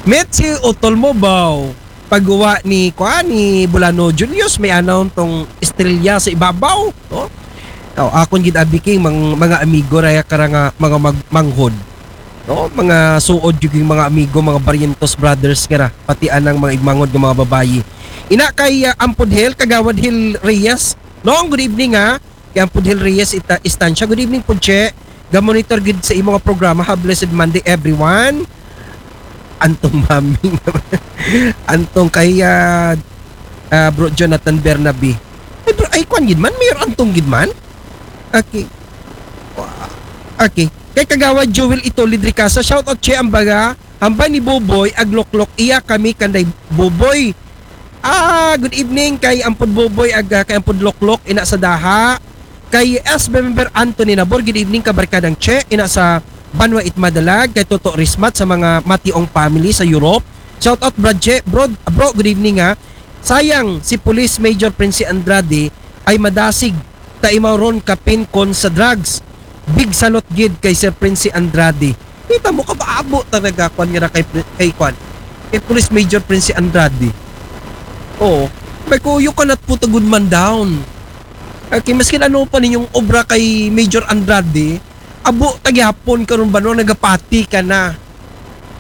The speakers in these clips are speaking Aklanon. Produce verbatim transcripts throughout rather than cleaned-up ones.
Met si utol mo baw. Pagguwa ni, kuan, ni Bulano Julius, may anaw tong estrelya sa ibabaw, no? O, akon gid abi kay mang-, mga amigo raya kara nga mga mag-, manghod. No? Mga suod gyud yung mga amigo, mga Barrientos brothers kara, pati anang mga igmanghod nga mga babayi. Ina kay, ah, Ampod Hel, Kagawad Hel Reyes. Nong, good evening, ha. Kay Ampod Hel Reyes ita-, Estancia. Good evening, Pudche. Ga-monitor gid sa imo nga programa. Have blessed Monday, everyone. Antong mami. Antong kay, ah, ah, Bro Jonathan Bernabe. Ay, bro, ay, kwan gid man? Mayor Antong gid man? Okay. Okay. Kay Kagawad Joel Itolid Ricasa, shout out, Che, ang baga, hambal ni Boboy, agloklok, iya kami kanday Boboy. Ah, good evening kay Ampod Boboy, ag, ah, kay Ampod Loklok, ina sa Daha. Kay S B member Anthony Nabor, good evening, kabarkadang Che, ina sa Banwa it Madalag, kay Toto Rismat sa mga Mationg family sa Europe. Shout out, Brad Che. Bro, bro, good evening, ha. Sayang, si Police Major Prince Andrade ay madasig ta imaw ron kapin kon sa drugs. Big salot gid kay Sir Prince Andrade. Kita mo, kabaabo talaga, kwan nga na kay, kay kwan. Kay Police Major Prince Andrade. Oo. May ko, you cannot put a good man down. Okay, maskin ano pa ninyong obra kay Major Andrade, abo ta gihapon karon ba no, nagapati ka na.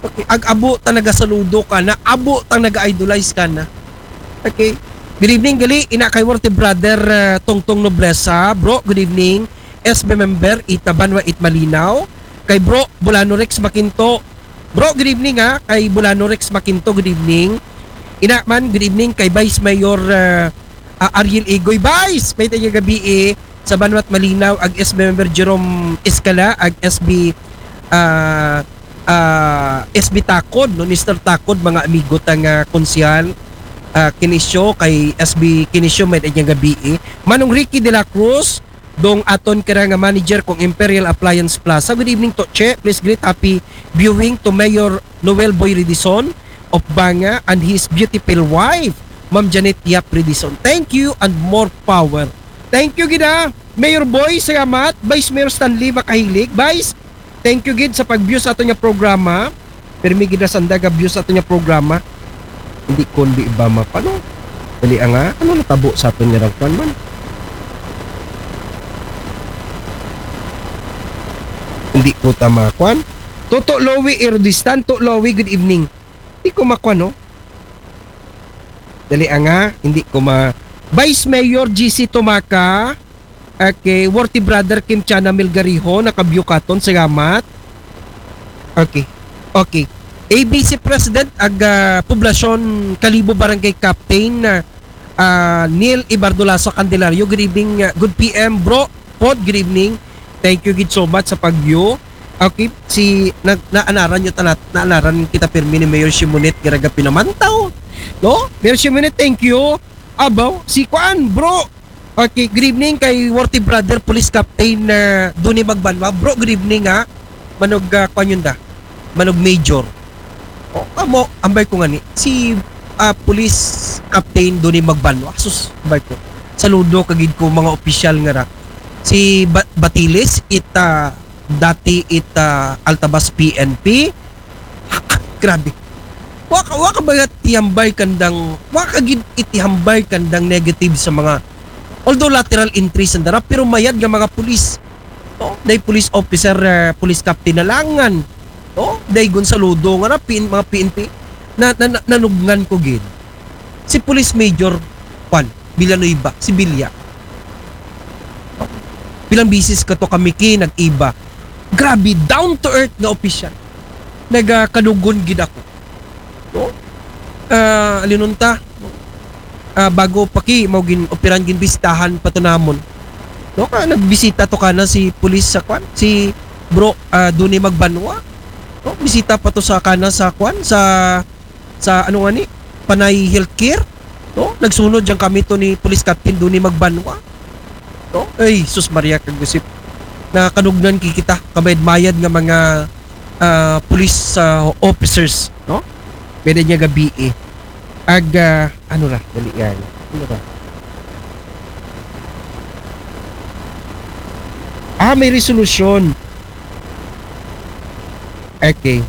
Okay, ag-abo ta nagasaludo ka na, abo ta naga-idolize ka na. Okay. Good evening, gali, ina kay Worthy Brother, uh, Tongtong Noblesa. Bro, good evening. S B member, ita Banwa it Malinaw. Kay Bro, Bulano Rex Makinto. Bro, good evening, ha. Kay Bulano Rex Makinto, good evening. Ina man, good evening. Kay Vice Mayor, uh, uh, Ariel Igoy. Vice, may tayo gabi eh. Sa Banwa it Malinaw, ag S B member Jerome Escala, ag S B, ah, ah, S B Takod, no, Mister Takod, mga amigo ta nga konsehal, ah, Kinisyo, kay S B Kinisyo, may danyang gabi eh. Manong Ricky de la Cruz, dong aton kara nga manager kong Imperial Appliance Plaza. Good evening to Che. Please greet happy viewing to Mayor Noel Boy Redison of Banga and his beautiful wife, Ma'am Janet Yap Redison. Thank you and more power. Thank you gid, ah. Mayor Boy, salamat. Vice Mayor Stanley Makahilig. Vice, thank you gid sa pag-view sa aton nga programa. Permi gid na sanda ga-view sa aton nga programa. Hindi kundi ba mapano? Dali nga, ano natabo sa aton nga rangkwan man? Hindi ko ta makwan. Toto Lowy Irodistan, To Lowy, good evening. Hindi ko makwan, no? Dali nga, hindi ko ma-, Vice Mayor G C Tumaca, okay, Worthy Brother Kim Chana Melgarijo, naka-view katon, salamat. Okay, okay. A B C President, ag, ah, Poblacion Kalibo Barangay Captain, ah, ah, Neil Ibardolaso Candelario, good evening, ah, good P M, bro, pod, good evening. Thank you gid so much sa pag-view. Okay, si, na, naanaran nyo tanat, naanaran kita pirmi ni Mayor Shimonette, garaga pinamantaw. No? Mayor Shimonette, thank you. Abaw, si kuan, bro. Okay, good evening kay Worthy Brother, Police Captain, ah, Duni Magbanwa. Bro, good evening, ha. Manog, ah, kuan yun da. Manog Major. O, amo, ambay ko nga ni. Si, ah, Police Captain Duni Magbanwa. Sus, ambay ko. Saludo kagid ko mga opisyal nga ra. Si Ba-, Batiles, it, ah, dati it, ah, Altabas P N P. Grabe. Wa ka, wa ka ba itihambay kandang, wa ka gid itihambay kandang negative sa mga, although lateral entry sanda ra, pero mayad nga mga pulis. No? Day police officer, eh, police captain na langan. No? Day gun saludo nga na, P N, mga P N P. Na, na, na, nanubngan ko gid. Si Police Major, kwan, Villanueva, si Villa. Pilang bisis ka to kami ki, nag-iba. Grabe, down to earth nga opisyal. Nagakanugon gid ako. No? Ah, alinon ta? Ah, bago pa ki, mao gin operan, gin bistahan pa to namon. No, ka nagbisita to kana si pulis sa kwan, si Bro, ah, Duni Magbanwa. No, bisita pa to sa kana sa kwan, sa, sa ano nga ni, Panay Healthcare. No, nagsunod diyan kami to ni Police Captain Duni Magbanwa. No, ay, sus Maria kagusip. Nakanugon kikita, kamayad-mayad nga mga, ah, police, ah, officers, no? Pwede niya gabi eh. Ag, ah, ano ra, dali yan. Ano ra? Ah, may resolution. Okay.